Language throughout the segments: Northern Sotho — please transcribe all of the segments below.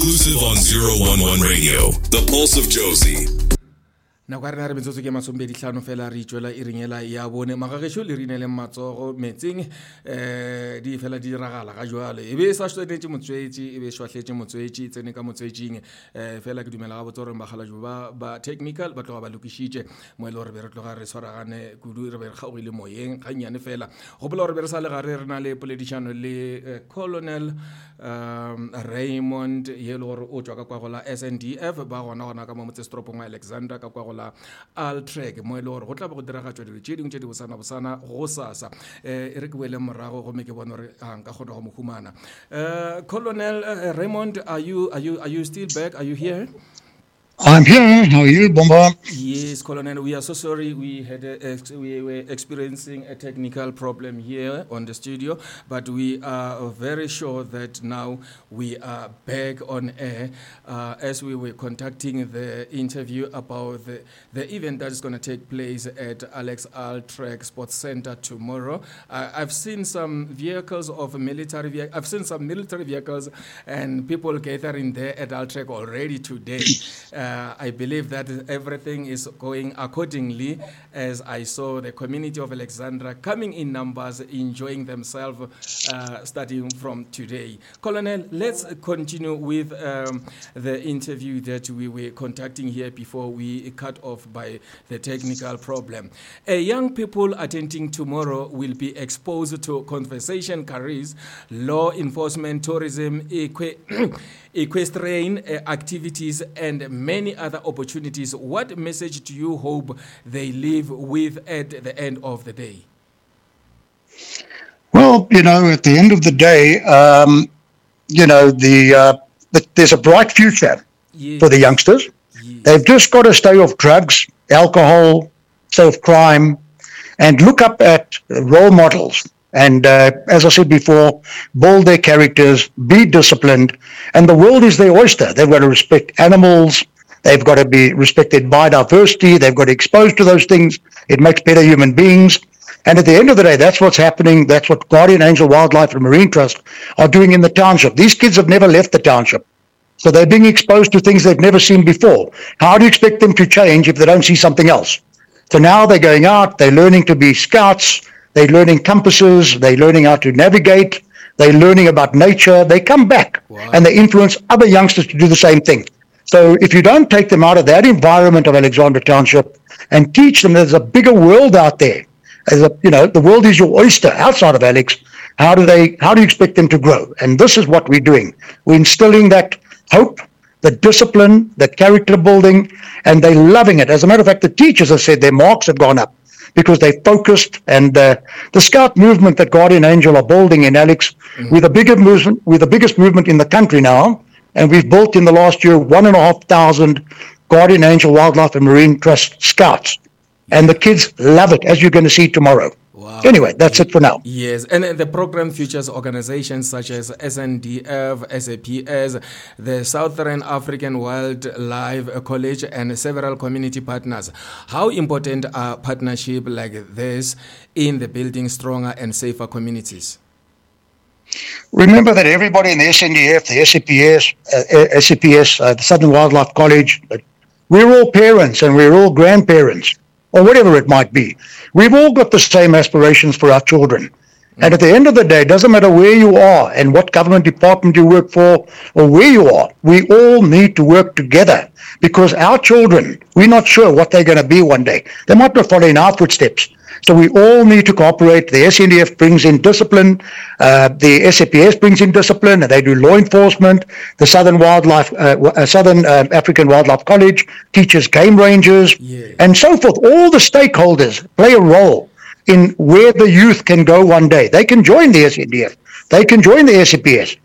Exclusive on 011 Radio, the pulse of Jozi. Nako ya rena re metsotso ke masomepedihlano fela re itšwela e ringela ya bone. Magagešo le rineleng matsogo metseng um di fela di diragala ga jwale. E be e sa swanetše motswetši, e be e šwahletše motswetši, e tsene ka motswetšing. Um fela ke dumela gabotse gore bakgalajwe ba ba technical ba tloga ba lokišitše mo e le gore be re tloga re swaragane kudu, re be re kgaogile moyeng gannyane fela. Gopola gore be re sa le gare re na le poledišano le eh, Colonel um Raymond ye e le gore o tšwa ka kwa go la SNDF ba gona gona ka mo motsesetoropong wa Alexandra ka kwa go la Altrek mo e le gore go tla be go diragatšwa dilo tše dingwe tše di bosana bosana go sasa. Um e re ke boele morago gomme ke bone gore a nka kgona go mo humana. Colonel Raymond, are you still back? Are you here? I'm here. How are you, Bomba? Yes, Colonel. We are so sorry. We had a, we were experiencing a technical problem here on the studio, but we are very sure that now we are back on air as we were conducting the interview about the event that is going to take place at Alex Altrek Sports Center tomorrow. I've seen some vehicles of military. I've seen some military vehicles and people gathering there at Altrek already today. I believe that everything is going accordingly, as I saw the community of Alexandra coming in numbers, enjoying themselves, starting from today. Colonel, let's continue with the interview that we were conducting here before we cut off by the technical problem. Young people attending tomorrow will be exposed to conservation careers, law enforcement, tourism, equestrian activities, and many other opportunities. What message do you hope they leave with at the end of the day? Well, you know, at the end of the day, you know, there's a bright future for the youngsters. They've just got to stay off drugs, alcohol, stay off crime, and look up at role models. And as I said before, build their characters, be disciplined, and the world is their oyster. They've got to respect animals. They've got to be respected biodiversity. They've got to be exposed to those things. It makes better human beings. And at the end of the day, that's what's happening. That's what Guardian Angel Wildlife and Marine Trust are doing in the township. These kids have never left the township. So they're being exposed to things they've never seen before. How do you expect them to change if they don't see something else? So now they're going out, they're learning to be scouts, they're learning compasses, they're learning how to navigate, they're learning about nature. They come back and they influence other youngsters to do the same thing. So if you don't take them out of that environment of Alexandra Township and teach them there's a bigger world out there, the world is your oyster outside of Alex, how do you expect them to grow? And this is what we're doing. We're instilling that hope, the discipline, the character building, and they're loving it. As a matter of fact, the teachers have said their marks have gone up because they focused, and the scout movement that Guardian Angel are building in Alex, we're the bigger movement, we're the biggest movement in the country now, and we've built in the last year 1,500 Guardian Angel Wildlife and Marine Trust scouts. And the kids love it, as you're going to see tomorrow. Wow. Anyway, that's it for now. Yes, and the program features organizations such as SNDF, SAPS, the Southern African Wildlife College, and several community partners. How important are partnerships like this in the building stronger and safer communities? Remember that everybody in the SNDF, the SAPS, SAPS, the Southern Wildlife College, we're all parents and we're all grandparents, or whatever it might be. We've all got the same aspirations for our children. And at the end of the day, it doesn't matter where you are and what government department you work for or where you are, we all need to work together because our children, we're not sure what they're going to be one day. They might not follow in our footsteps. So we all need to cooperate. The SNDF brings in discipline. The SAPS brings in discipline, and they do law enforcement. The Southern Wildlife, Southern African Wildlife College teaches game rangers, and so forth. All the stakeholders play a role in where the youth can go one day. They can join the SNDF. They can join the SAPS.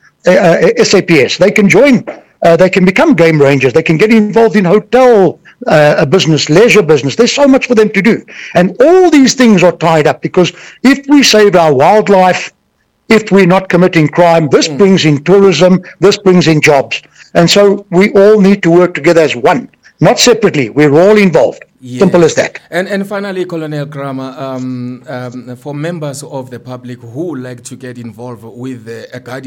SAPS. They can join. They can become game rangers. They can get involved in hotel business, leisure business. There's so much for them to do. And all these things are tied up because if we save our wildlife, if we're not committing crime, this brings in tourism, this brings in jobs. And so we all need to work together as one, not separately. We're all involved. Simple as that. And finally, Colonel Kramer, for members of the public who like to get involved with the Guardian